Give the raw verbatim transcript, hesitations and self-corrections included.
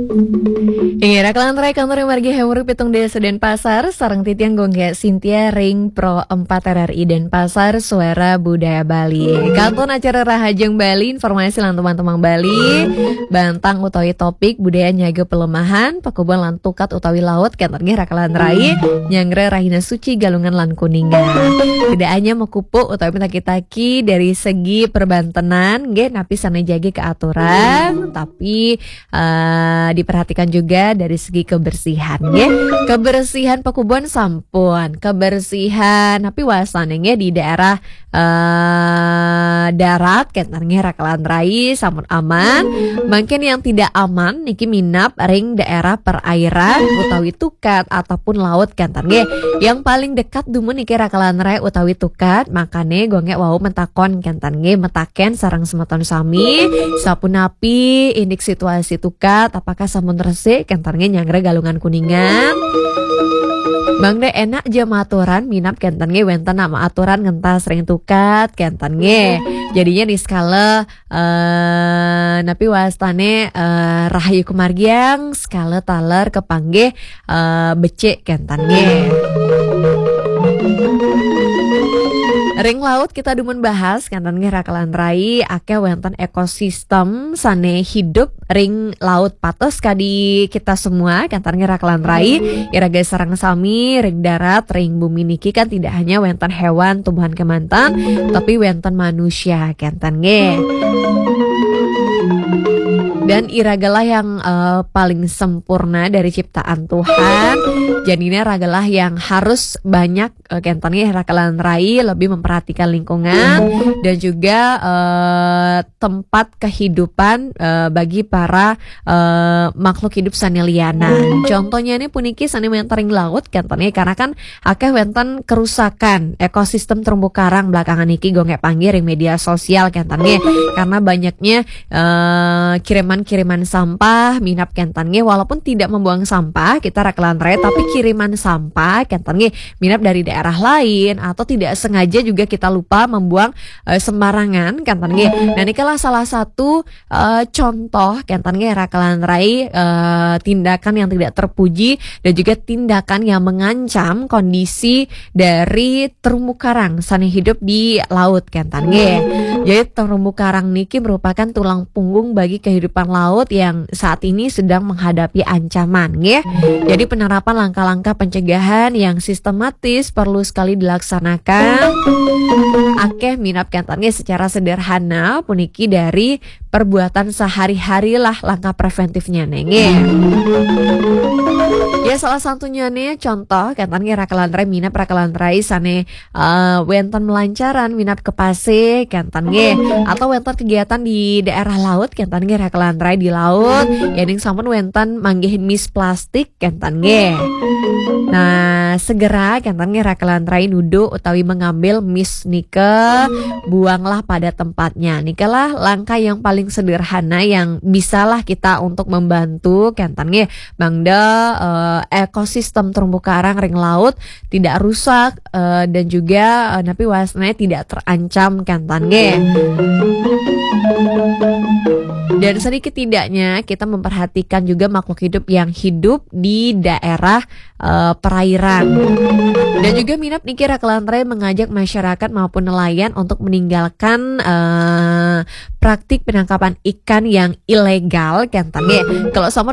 Inggih, raka lan rai kantor margi Hemuri pitung dasa Denpasar, sareng titiang Gung Gé Sintia ring Pro empat R R I Denpasar, Suara Budaya Bali. Kantun acara Rahajeng Bali, informasi lan teman-teman Bali, bantang utawi topik budaya nyaga pelemahan, pakubuan lan tukat utawi laut, kénten nggih raka lan rai, nyanggra rahina suci Galungan lan Kuningan. Tidak hanya mekupuk utawi metaki-taki dari segi perbantenan, nggih, napi sané jagi keaturan, tapi eh, diperhatikan juga dari segi kebersihan, nggih. Kebersihan pakubuan sampun, kebersihan tapi wastané nggih di daerah eh, darat, kénten nggih raka lan rai sampun aman. Mungkin yang tidak aman niki minab ring daerah perairan utawi tukat ataupun laut, kénten nggih. Yang paling dekat dumun niki raka lan rai utawi tukat, makané Gung Gé wau mentakon, kénten nggih, metaken sareng semeton sami, sapunapi indik situasi tukat, apakah sampun resik, kénten nggih, nyanggra Galungan Kuningan. Mangda enak ja maturan, minab kénten nggih wénten nak maturan ngentas ring tukat, kénten nggih. Jadinya niskala eh, napi wastané eh, rahayu kemargiang, skala taler kepanggih eh, becik, kénten nggih. Ring laut kita dumun bahas, kénten nggih raka lan rai, akéh wénten ekosistem sané hidup ring laut, patos kadi kita semua, kénten nggih raka lan rai, iraga sareng sami ring darat, ring bumi niki kan tidak hanya wénten hewan, tumbuhan kémanten, tapi wénten manusia, kénten nggih. Dan iragalah yang eh, paling sempurna dari ciptaan Tuhan. Jadinya ragalah yang harus banyak eh, kénten nggih raka lan rai lebih memperhatikan lingkungan dan juga eh, tempat kehidupan eh, bagi para eh, makhluk hidup sané lianan. Contohnya nih puniki sané wénten ring laut, kénten nggih, karena kan akéh wénten kerusakan ekosistem terumbu karang belakangan niki, Gung Gé, panggih ring media sosial, kénten nggih. Karena banyaknya eh, kiriman-kiriman sampah, minab, kénten nggih, walaupun tidak membuang sampah kita raka lan rai, tapi kiriman sampah, kénten nggih, minab dari daerah lain atau tidak sengaja juga kita lupa membuang eh, sembarangan, kénten nggih. Nah, nikalah salah satu eh, contoh, kénten nggih raka lan rai, eh, tindakan yang tidak terpuji dan juga tindakan yang mengancam kondisi dari terumbu karang sané hidup di laut, kénten nggih. Jadi terumbu karang niki merupakan tulang punggung bagi kehidupan laut yang saat ini sedang menghadapi ancaman, nggih. Jadi penerapan langkah-langkah pencegahan yang sistematis perlu sekali dilaksanakan. Akéh minab, kénten nggih, secara sederhana puniki dari perbuatan sehari-hari lah langkah preventifnya nih, nggih. Ya, salah satunya nih contoh, kénten nggih raka lan rai, minab raka lan rai sané eh, wénten melancaran minab ke pasih, kénten nggih, atau wénten kegiatan di daerah laut, kénten nggih raka lan rai di laut, yéning sampun wénten manggihin mis plastik, kénten nggih. Nah, segera, kénten nggih raka lan rai, nuduk utawi mengambil mis nika, buanglah pada tempatnya. Nikalah langkah yang paling sederhana yang bisalah kita untuk membantu, kénten nggih, mangda eh, ekosistem terumbu karang ring laut tidak rusak eh, dan juga eh, napi wastané tidak terancam, kénten nggih. Dan sedikit tidaknya kita memperhatikan juga makhluk hidup yang hidup di daerah eh, perairan. Dan juga minab niki raka lan rai mengajak masyarakat maupun nelayan untuk meninggalkan eh, praktik penangkapan ikan yang ilegal, kénten nggih. Kalau sampun